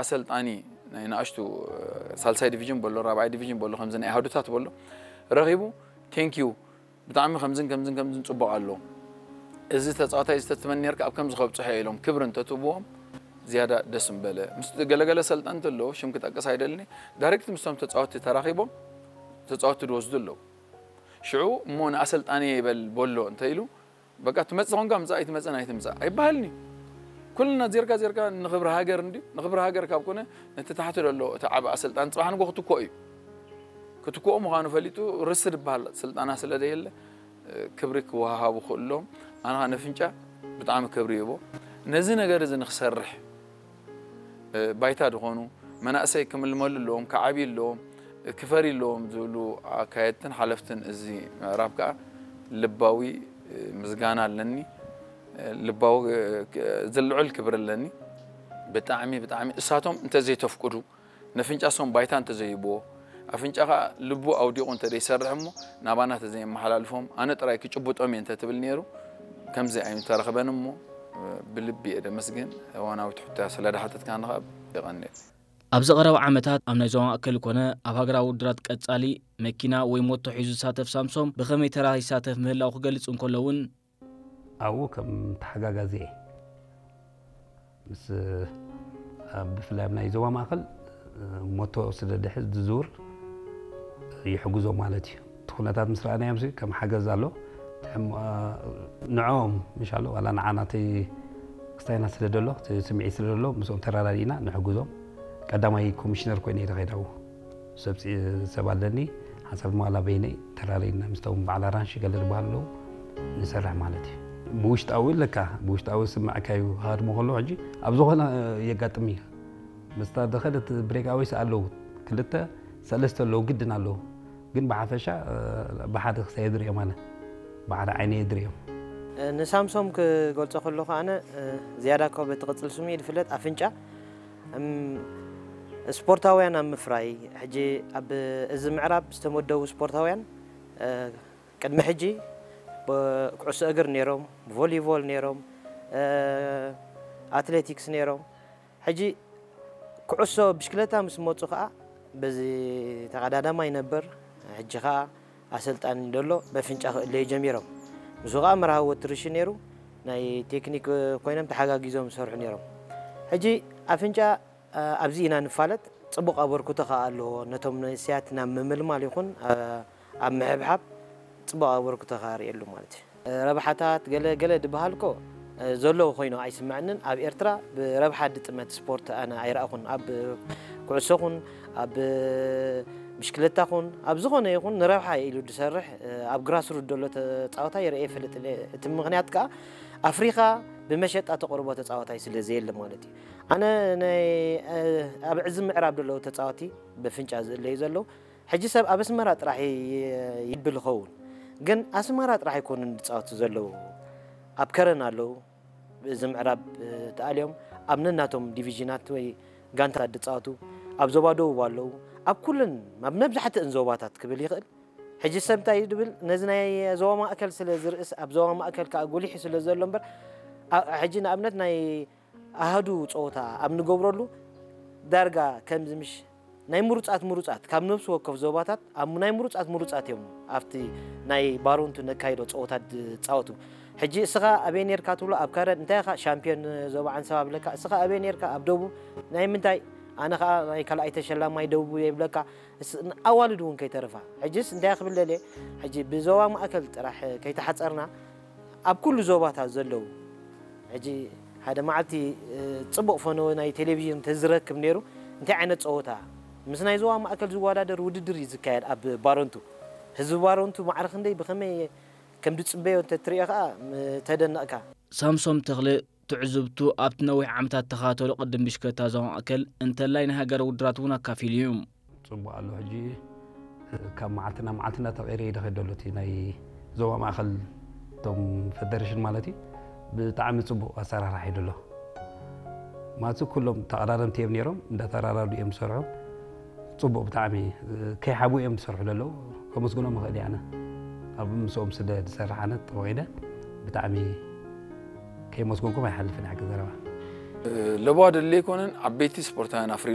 ኣሰልጣኒ ናይ ንኣሽቱ ሳልሳይ ዲቪዥን በሎ ራብዓይ ዲቪዥን በሎ ከምዚ ናይ ኣሃዱታት በሎ ረኺቡ ቴንኪዩ ብጣዕሚ ከምዝን ከምዝን ከምዝን ጽቡቕ ኣሎ እዚ ተጻዋታይ ዝተትመን ነርካ ኣብ ከምዚ ከብጽሖ ኢሎም ክብሪ እንተትብዎም ዝያዳ ደስ ምበለ ምስ ገለገለ ሰልጠንቲ ኣለዉ ሽም ክጠቅስ ኣይደልኒ ዳይሬክት ምስቶም ተጻወትቲ ተራኺቦም ተጻወትቲ ድወስዱ ኣለዉ ሽዑ እሞ ንኣሰልጣኒ ይበል በሎ እንተ ኢሉ በቃ ትመጽእ ኾንካ ምጻእ ኣይትመጽእን ኣይትምጻእ ኣይበሃልኒ ኩልና ዜርካ ዜርካ ንኽብሪ ሃገር እንዲ ንኽብሪ ሃገር ካብ ኮነ ነቲ ታሕቲ ዘሎ እቲ ዓብ ኣሰልጣን ጽባሕ ንጎ ክትኮ እዩ ክትኮ ምዃኑ ፈሊጡ ርስ ዝበሃል ስልጣና ስለ ደየለ ክብሪ ክወሃሃቡ ክእሎም ኣነ ንፍንጫ ብጣዕሚ ክብሪ ይቦ ነዚ ነገር እዚ ንክሰርሕ ባይታ ዝኾኑ መናእሰይ ክምልመሉ ኣለዎም፣ ክዓብዩ ኣለዎም፣ ክፈርዩ ኣለዎም ዝብሉ ኣካየድትን ሓለፍትን እዚ ምዕራብ ከዓ ልባዊ ምስጋና ኣለኒ። ልባዊ ዝልዑል ክብሪ ኣለኒ። ብጣዕሚ ብጣዕሚ እሳቶም እንተዘይተፍቅዱ ነፍንጫ ሶም ባይታ እንተዘይህብዎ ኣፍንጫኻ ልቡ ኣውዲቑ እንተደይሰርሕ እሞ ናባና ተዘየመሓላልፎም ኣነ ጥራይ ክጭብጦም እየ እንተትብል ነይሩ ከምዚ ኣይምተረኽበን እሞ ብልቢ እየ ደመስግን። እዋናዊ ትሕቶ ስለ ደሓተትካኒ ከዓ የቐንየለይ። ኣብዚ ቀረባ ዓመታት ኣብ ናይ ዞባ ማእከል ኮነ ኣብ ሃገራዊ ውድድራት ቀጻሊ መኪና ወይ ሞቶ ሒዙ ዝሳተፍ ሳምሶም ብኸመይ ተራ ይሳተፍ ምህላው ክገልጽ እንከሎ እውን ኣብኡ ከም ተሓጋጋዚ እየ። ምስ ኣብ ብፍላይ ኣብ ናይ ዞባ ማእከል ሞቶ ስለ ድሕዝ ዝዝውር ይሕግዞ ማለት እዩ። እቲ ኩነታት ምስ ረኣናዮም ሲ ከም ሓገዝ ኣሎ። ንዕኦም ምሻሎ ዋላ ንዓና እቲ ክስታይና ስለ ደሎ እቲ ስምዒት ስለ ደሎ ምስኦም ተረዳዲእና ንሕግዞም። ቀዳማይ ኮሚሽነር ኮይነ እየ ዝኸይድ ኣብኡ። ሰብ ሰብ ኣለኒ ሓንሳብ ድማ ዋላ በይነይ ተራሪና ምስቶም በዓል ኣራንሺ ገለ ዝበሃሉ ኣለዉ ንሰርሕ ማለት እዩ። ብውሽጣዊ ኣለካ ብውሽጣዊ ስምዕካ እዩ ሃድሞ ከሎ ሕጂ ኣብ ዝኾነ የጋጥም እዩ። ምስታ ደኸደት ብሬክ ኣወይስ ኣለዉ ክልተ ሰለስተ ኣለዉ ግድን ኣለዉ ግን ብሓፈሻ ብሓደ ክሳይ የድርዮም ኣነ ብሓደ ዓይነ የድርዮም። ንሳምሶም ክገልጾ ከለኹ ኣነ ዝያዳ ካብ እቲ ቅጽል ስሙ እዩ ዝፍለጥ ኣፍንጫ ስፖርታውያን ኣብ ምፍራይ ሕጂ ኣብ እዚ ምዕራብ ዝተመደቡ ስፖርታውያን ቅድሚ ሕጂ ኩዕሶ እግር ነይሮም፣ ቮሊቮል ነይሮም፣ ኣትሌቲክስ ነይሮም። ሕጂ ኩዕሶ ብሽክለታ ምስ መፁ ከዓ በዚ ተቐዳዳማይ ነበር። ሕጂ ከዓ ኣሰልጣኒ ደሎ በፍንጫ ክእለዩ ጀሚሮም። ምስኡ ከዓ መርሃዊ ወትርሽ ነይሩ ናይ ቴክኒክ ኮይኖም ተሓጋጊዞም ዝሰርሑ ነይሮም። ሕጂ ኣፍንጫ ኣብዚ ኢና ንፋለጥ። ፅቡቕ ኣበርክቶ ከዓ ኣለዎ። ነቶም መንእሰያት ናብ ምምልማል ይኹን ኣብ ምሕብሓብ ፅቡቕ ኣበርክቶ ከዓ ርእየሉ ማለት እዩ። ረብሓታት ገለ ገለ ድበሃል ኮ ዘለዎ ኮይኑ ኣይስምዐንን። ኣብ ኤርትራ ብረብሓ ድጥመት ስፖርት ኣነ ኣይረኣኹን። ኣብ ኩዕሶ ኹን ኣብ ብሽክለታ ኹን ኣብ ዝኾነ ይኹን ንረብሓ ኢሉ ድሰርሕ ኣብ ግራስሩት ደሎ ተፃወታይ ርእየ ይፈልጥ። እቲ ምኽንያት ከዓ ኣፍሪኻ ብመሸጣ ተቕርቦ ተፃወታይ ስለ ዘየለ ማለት እዩ። ኣነ ናይ ኣብ ዕዚ ምዕራብ ደለዉ ተፃወቲ ብፍንጫ ዝእለዩ ዘለዉ ሕጂ ሰብ ኣብ ኣስመራ ጥራሕ ይብል ይኸውን፣ ግን ኣስመራ ጥራሕ ኣይኮኑን ዝፃወቱ ዘለዉ። ኣብ ከረን ኣለዉ፣ እዚ ምዕራብ ተኣልዮም ኣብ ነናቶም ዲቪዥናት ወይ ጋንታት ዝፃወቱ፣ ኣብ ዞባ ደቡብ ኣለዉ፣ ኣብ ኩለን ኣብ መብዛሕትእን ዞባታት ክብል ይኽእል። ሕጂ ሰብ እንታይ እዩ ዝብል ነዚ ናይ ዞባ ማእከል ስለ ዝርእስ ኣብ ዞባ ማእከል ከዓ ጎሊሑ ስለ ዘሎ እምበር ሕጂ ንኣብነት ናይ ኣሃዱ ፀወታ ኣብ ንገብረሉ ዳርጋ ከምዚ ምሽ ናይ ምሩፃት ምሩፃት ካብ ነብሲ ወከፍ ዞባታት ኣብ ናይ ምሩፃት ምሩፃት እዮም ኣብቲ ናይ ባሮንቱ ነካይዶ ፀወታት ዝፃወቱ። ሕጂ እስኻ ኣበይ ነርካ ትብሎ ኣብ ካረን እንታይ ኢኻ ሻምፒዮን ዞባ ዓንሰባ ብለካ እስኻ ኣበይ ነርካ ኣብ ደቡብ ናይ ምንታይ ኣነ ከዓ ናይ ካልኣይ ተሸላማይ ደቡብ እየ ብለካ። ኣዋልድ እውን ከይተረፋ ሕጅስ እንታይ ክብል ደልየ ሕጂ ብዞባ ማእከል ጥራሕ ከይተሓፀርና ኣብ ኩሉ ዞባታት ዘለዉ ሕጂ ሓደ መዓልቲ ፅቡቕ ፈነወ ናይ ቴሌቪዥን ተዝረክብ ነይሩ እንታይ ዓይነት ፀወታ ምስ ናይ ዞባ ማእከል ዝወዳደር ውድድር እዩ ዝካየድ ኣብ ባረንቱ ህዝቢ ባረንቱ ማዕረ ክንደይ ብኸመይ ከም ዝፅበዮ እንተትሪኦ ከዓ ተደነቕካ። ሳምሶም ተኽለ ትዕዝብቱ ኣብቲ ነዊሕ ዓመታት ተኻተሎ ቅድም ብሽክለታ ዞባ ማእከል እንተላይ ናይ ሃገር ውድራት እውን ኣካፊሉ እዩ። ጽቡቕ ኣሎ። ሕጂ ካብ መዓልቲ ናብ መዓልቲ እንዳተቐየረ እዩ ዝኸይድ ዘሎ። እቲ ናይ ዞባ ማእከል እቶም ፈደረሽን ማለት እዩ ብጣዕሚ ጽቡቕ ኣሰራርሓ እዩ ዘሎ። ማለት ኩሎም ተቐዳደምቲ እዮም ነይሮም፣ እንዳተራዳዱ እዮም ዝሰርሑ። ጽቡቕ ብጣዕሚ ከይሓቡ እዮም ዝሰርሑ ዘለዉ። ከመስግኖም እኽእል እየ ኣነ። ኣብ ምስኦም ስለ ዝሰርሕ ኣነ ጠቒደ ብጣዕሚ ከይመስገንኩም ኣይሓልፍን እየ ሓቂ ዘረባ። ለባ ደለ ኣይኮነን፣ ዓበይቲ ስፖርታውያን ኣፍሪ